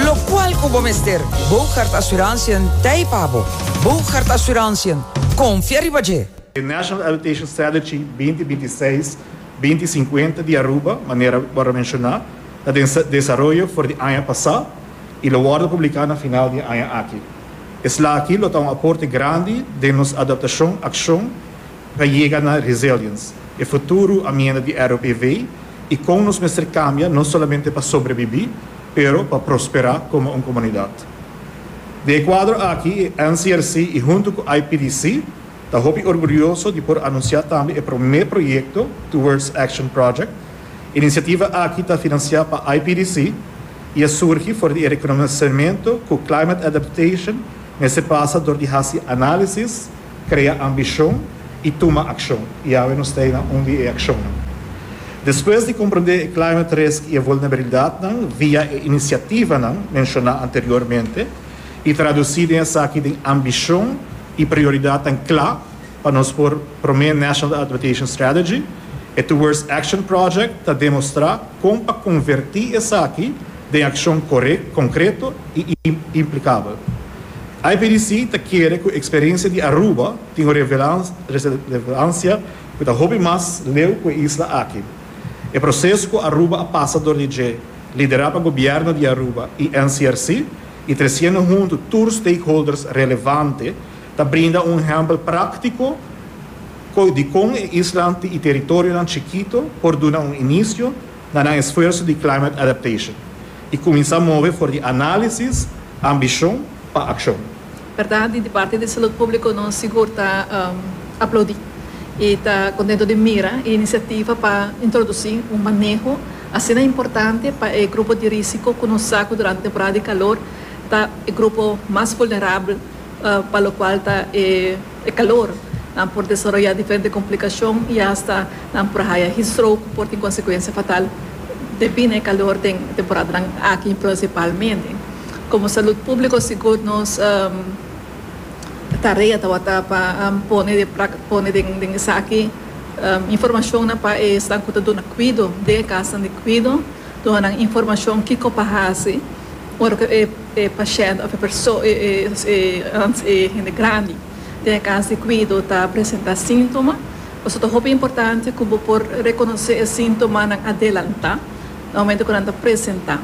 Locual cu bo mester, Boogaard Assurantiën t'ei pa bo. Boogaard Assurantiën, confia riba dje! E National Adaptation Strategy 2026, 2050 di Aruba, manera wòrdu menshoná, ta den desaroyo for di aña pasá i lo wòrdu publiká na final di e aña aki. Eslaki lo ta un aporte grandi den nos adaptashon akshon pa yega na resilience, e futuro amienda di ROPV i kon nos mester kambia no solamente pa sobrebibí, pero pa prosperá komo un komunidat. Den e kuadro aki e NCRC i huntu ku IPDC ta hopi orgulioso di por anunsiá tambe e promé proyekto Towards Action Project. E inisiativa aki ta finansiá pa IPDC i a surgi for di e rekonosementu ku climate adaptation mester pasa dor di hasi análisis, krea ambishon i tuma akshon. I awe nos ta ei na un di e akshonnan. Despues di komprondé e climate risk i e vulnerabilidatnan via e inisiativanan menshoná anteriormente i tradusí den esaki den ambishon i prioridatnan kla pa nos por promé National Adaptation Strategy, e Towards Action Project ta demostrá kon pa konvertí esaki den akshon konkreto i implikabel. IPDC ta kere ku eksperensia di Aruba tin un relevansia ku ta hopi mas leu ku e isla aki. E proseso ku Aruba a pasa dor di dje, liderá pa Gobièrnu di Aruba i NCRC i tresiendo huntu tur stakeholders relevante, ta brinda un ehèmpel práktiko di kon e islan i teritorionan chikito por duna un inisio na nan esfuerso di climate adaptation i kuminsá move for di análisis, ambishon pa akshon. Berdad di parti di Salud Publico nos sigur ta aplaudi y ta contento di mira e iniciativa pa introduci un maneho asina importante pa e grupo di risico cu nos sa cu durante temporada di calor ta e grupo mas vulnerabel pa locual ta e calor. Nan por desaroya diferente complicacion y hasta nan por haya heat stroke cu por tin consecuencia fatal debi na e calor den e temporadanan aki principalmente. Como salud publico sigur nos tarea tabata pa pone pone den esaki informacionnan pa e esnan cu ta duna cuido den e casnan di cuido, duna nan informacion kico pa haci ora cu e pashent of e perso e e hende grandi den e cas di cuido ta presenta sintoma. Pasobra ta hopi importante cu bo por reconoce e sintomanan adelanta na momento cu nan ta presenta.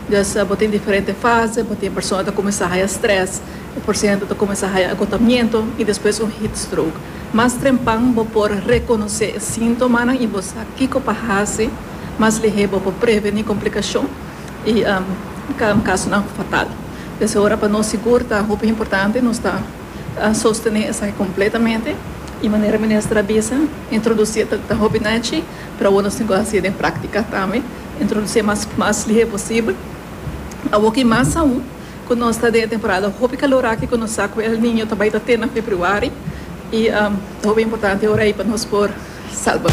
Dus bo tin diferente fase, bo tin e persona ta cuminsa haya stress, e porciento ta cuminsa haya agotamiento y despues un heat stroke. Mas trempan bo por reconoce e sintomanan y bo sa kico pa haci, mas lihe bo por preveni complicacion y casonan fatal. Des ora pa nos sigur ta hopi importante nos ta sostene esaki completamente y manera minister a bisa introduci ta hopi nechi pero awor nos tin cu haci den practica tambe. Introducié mas mas lihe posibel. Awoki mas aun ku nos ta den e temporada hopi kalor aki ku nos sa ku El Niño ta bai ta te na februari i ta hopi importante ora ei pa nos por salba.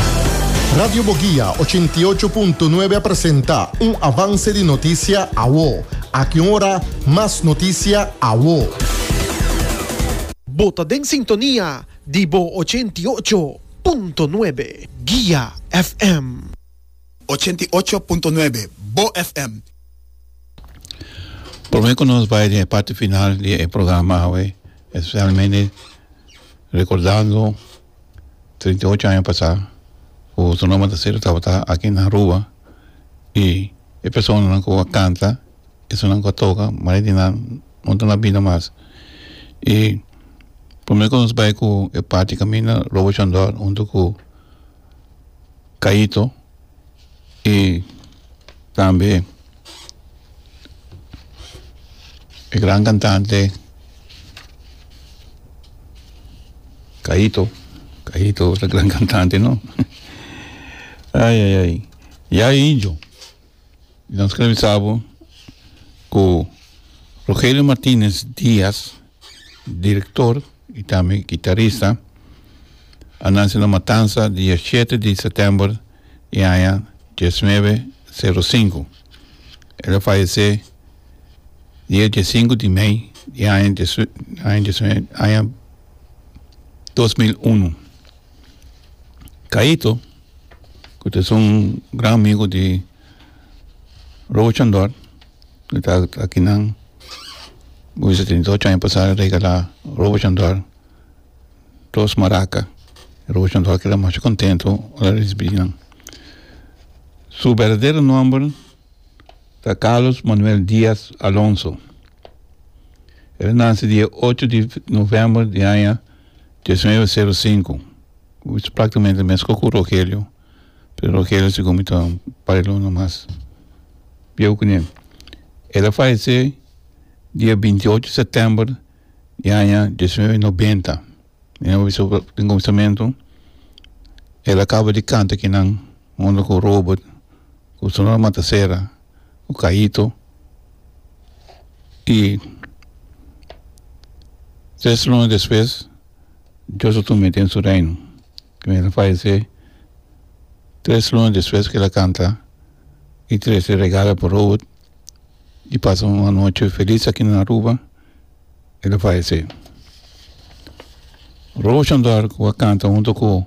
Radio Boguia ochenta i ocho punto nuebe a presenta un avance di noticia awo. Aki un ora mas noticia awo. Bo ta den sintonia di bo 88.9 Guia FM. 88.9 Bo FM. Prome ku nos bai den e parti final di e programa awe, especialmente recordando 38 aña pasá ku Sonora Matancero tabata aki na Aruba i e personanan ku a kanta, esunnan ku a toka, mayoria di nan no ta na bida mas. I prome ku nos bai ku e parti kaminda Robo Chandor huntu ku Caito y tambe e gran cantante Caito, Caito ta gran cantante no ay ay ay ya indio nos kere bisa bo cu Rogelio Martinez Diaz director y tambe guitarista a nanse na Matanza dia shete di september di aña diesnuebe sero sinku. El a fayesé dia diesinku di mei di aña aña 2001. Caito, ku ta esun gran amigu di Robo Chandor. Ta akinan bo bisa 38 aña pasá a regalá Robert Chandor dos maraca. Robert Chandor keda masha contento ora a ricibi nan. Su berdadero nomber ta Carlos Manuel Diaz Alonso. El a nace dia ocho di november di aña 1905, practicamente mesco cu Rogelio. Pero Rogelio segun mi ta un par di luna mas bieu ku ne. El a fayesé dia 28 sètèmber di aña 1990. Mi a bisa den kuminsamentu el a kaba di kanta kinan huntu ku Robert, ku Sonora Matasera, ku Caito i tres luna despues Dios a tum'é den su reino. El a fayesé tres luna despues ku el a kanta i trese regalo pa Robert i pasa un anochi felis aki na Aruba, el a fayesé. Robert Chandor ku a kanta hunto ku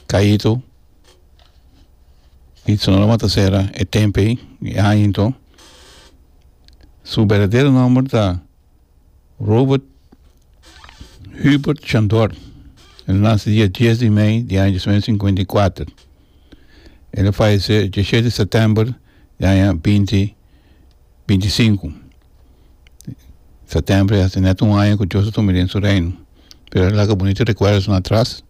Caito i Sonora Matasera e tempu ei, e aña anto, su berdadero nomber ta Robert Hubert Chandor. El a nace dia dies di mei di aña 1954. El a fayece diesshete di september di aña binti binti sinku. September ya haci net un aña cu Dios a tuma den su reino. Pero el a laga bunito recuerdonan atras.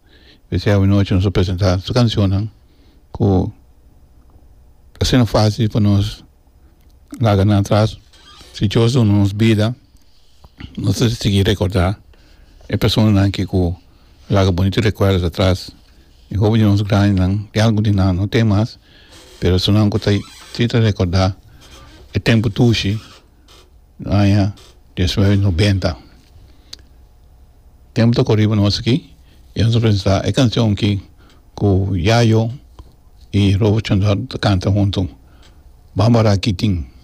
P'esei awanochi nos a presenta su cancionnan cu ta asina facil pa nos laga nan atras. Si Dios duna nos bida, nos ta sigui rekordá e personanan ki ku laga bunito rekuerdos atras. E hopi di nos grandinan, tin algun di nan no tin mas, pero esunnan ku ta si ta rekordá e tempu tushi aña diesnuebe nobenta. Tempu ta kore riba nos aki i nos ta presentá e kanshon aki ku Yayo i Robert Chandor ta kanta huntu, Bambara Kitin.